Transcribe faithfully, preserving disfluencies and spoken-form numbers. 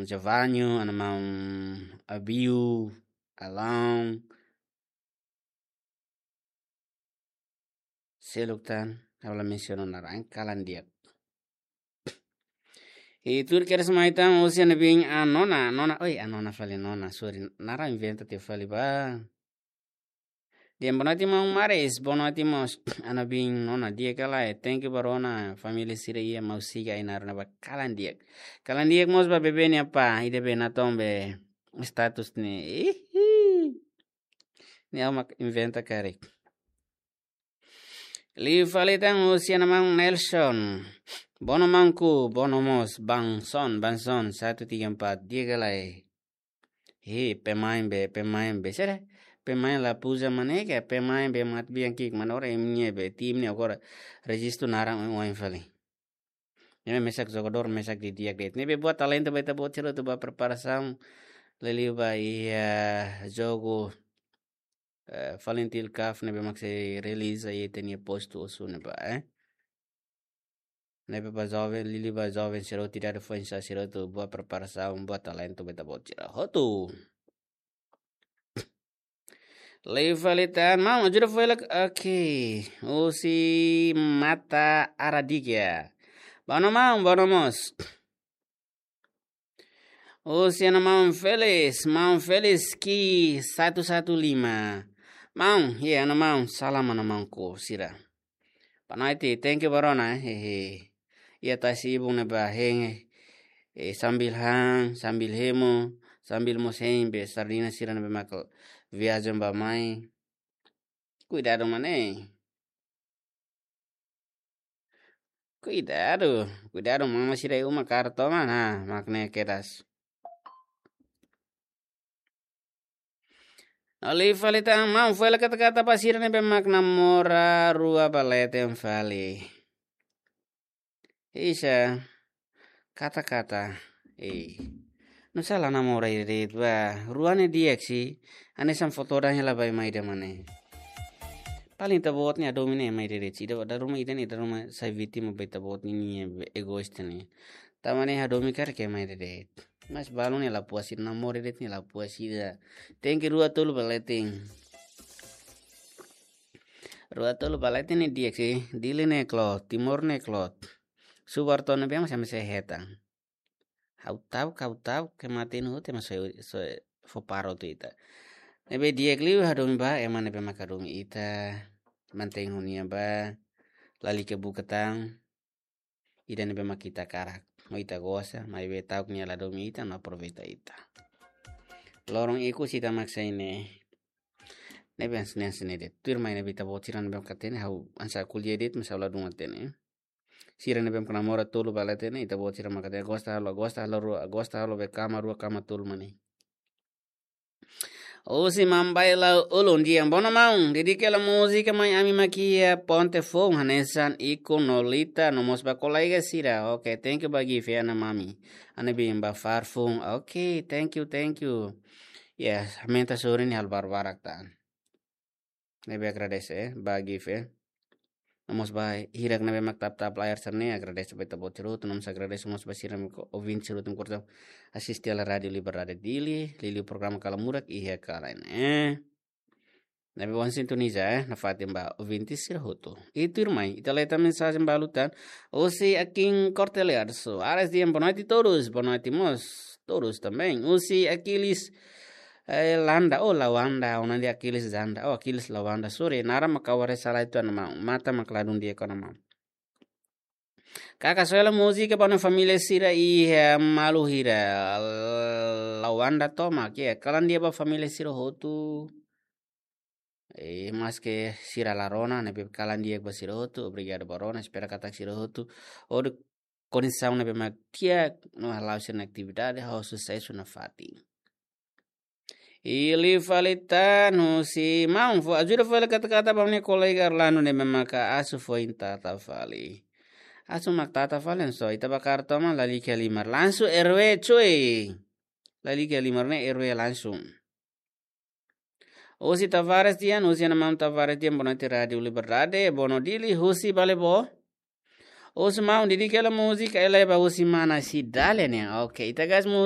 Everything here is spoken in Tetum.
Javanho, ana maun Abiu, Alão. Seluk tan, ha'u la mensiona naran, kalan di'ak. I tuir kedas mai tan, husi ana biin Anona, Anona, oi, Anona fali Nona, sorry, naran inventa tiha fali ba. Di'ak, boa noite maun Maris, boa noite mós, ana biin Nona, di'ak ka lae, thank you ba rona, família sira iha maun siga ai naruna ba kalan di'ak. Kalan di'ak mós ba bebé nia apá, ida be natoon be status ne'e. Ihi. Ne'e ha'u mak inventa karik. Liu fali tan husi ana maun Nelson. Boa noite maunku, boa noite mós, Bangson, Bangson, satu tiga empat, di'ak ka lae. Hi, pemain be, pemain be. Sira, pemain la puja mane ke, pemain be mat biang kik, mana ora imi-nia be, tim ne'e agora rejistu naran oin fali. Ne'e mesak jogadór, mesak didi'ak de'it. Ne'ebé buat talentu ba ita-boot sira atu ba preparasaun. Liuliu ba iha jogu, eh, Falintil Cup ne'ebé mak sei realiza iha ita-nia postu Osu ne'ebá, eh. Ne'ebé ba joven, liuliu ba joven sira hotu, idade foin-sa'e sira hotu, buat preparasaun, buat talentu ba ita-boot sira hotu. Liu fali tan, maun, ajuda foin la, oke. Husi Mata Aradiga. Boa noite maun, boa noite mós. Husi ana maun Felis, maun Felis ki satu satu lima. Maun, iha ana maun, salam ana maunku sira. Boa noite, thank you ba rona, eh, hehe. Iha tasi-ibun ne'ebá hein, eh, sambil han, sambil hemu, sambil mós hein be sardina sira ne'ebé mak viajen ba mai. Kuidadu mane. Kuidadu, kuidadu mama sira iha uma kaer toman, ha, mak ne'e kedas. Liu fali tan, maun, foin la kata-kata ba sira ne'ebé mak namora rua ba leten fali. Isa, kata-kata, eh. Nusá la namora ida de'it ba, rua ne'e di'ak si, hanesan foto ida hela ba ema ida mane. Paling ita-boot ne'e hadomi ne'e ema ida de'it, ida dala ruma ida ne'e dala ruma sai vítima ba ita-boot ne'e, ne'e egoísta ne'e. Tanba ne'e hadomi karik ema ida de'it. Mas balu ne'e la puas ida, namora de'it ne'e la puas ida. Tenke rua tolu ba leten. Rua tolu ba leten ne'e di'ak si, Dili ne'e klot, Timor ne'e klot. Subarto ne'ebé mak sei hetan. Ha'u ta'uk, ha'u ta'uk, ke mate no te mas so, so fó paro tu ita. Ne'ebé di'ak liu hadomi ba, ema ne'ebé mak hadomi ita, mantein ho nia ba, lalika buka tan, ida ne'ebé mak ita hakarak. Ho ita gosta, maibé ta'uk nia la hadomi ita, no aproveita ita. Loron ikus ita mak sai ne'e. Ne'ebé hanesan ne'e de'it. Tuirmai ne'ebé ita-boot sira ne'ebé mak hatene, ha'u hanesan ko'alia de'it, mas ha'u ladún hatene. Sira ne'ebé mak namora tolu ba leten ne'e, ita-boot sira mak hatene, gosta halo, gosta halo rua, gosta halo be kama rua kama tolu mane. Husi Mambai Lau Ulun, di'ak, boa noite maun, dedika hela múzika mai ami mak iha ponte foun hanesan iku no lita no mós ba kolega sira. Oke, thank you ba gift ya, ana mami. Ana biin ba far foun. Oke, thank you, thank you. Ya, aumenta sorin halo barak-barak tan. Ne'ebé agradese, eh, ba gift, eh. No mós ba hirak ne'ebé mak tap-tap layar sira-ne'e, agradese ba ita-boot sira hotu, no mós agradese mós ba sira ne'ebé ouvinte sira hotu ne'ebé asiste hela Rádio Liberdade Dili, liuliu programa Kala Murak iha kalan, eh. Ne'ebé bom sintoniza, eh, nafatin ba ouvinte sira hotu. I tuirmai, ita lee tan mensajen balu tan, husi Akin Cortelear Soares, di'ak, boa noite todos, boa noite mós, todos também. Husi Aquiles, eh, Landa, oh, Lawanda, ona de Aquiles Zanda, oh, Aquiles Lawanda, sorry, naran mak ha'u haree sala uitoan maun, matan mak ladún di'ak ona maun. Kaka soe hela múzika ba ona família sira iha, eh, malu hira, Lawanda tomak, ya, kalan di'ak ba família sira hotu. Eh, maske sira la rona, ne'ebé kalan di'ak ba sira hotu, obrigadu ba rona, espera katak sira hotu. Hodi kondisaun ne'ebé mak di'ak, no hala'o sira-nia atividade, ha'u susesu nafatin. I liu fali tan husi maun, fó ajuda fali kata-kata ba ha'u-nia kolega Orlando ne'ebé maka asu foin tata fali. Asu mak tata fali, so ita ba kaer toman lalika halimar. Langsung R W cuy. Lalika halimar ne'e R W langsung. Husi Tavares di'ak, husi ana maun Tavares di'ak, boa noite Rádio Liberdade, boa noite Dili, husi Balebo. Husi maun, dedika hela múzika, ela ba husi mana Cidália ne'e. Oke, ita gas múzika.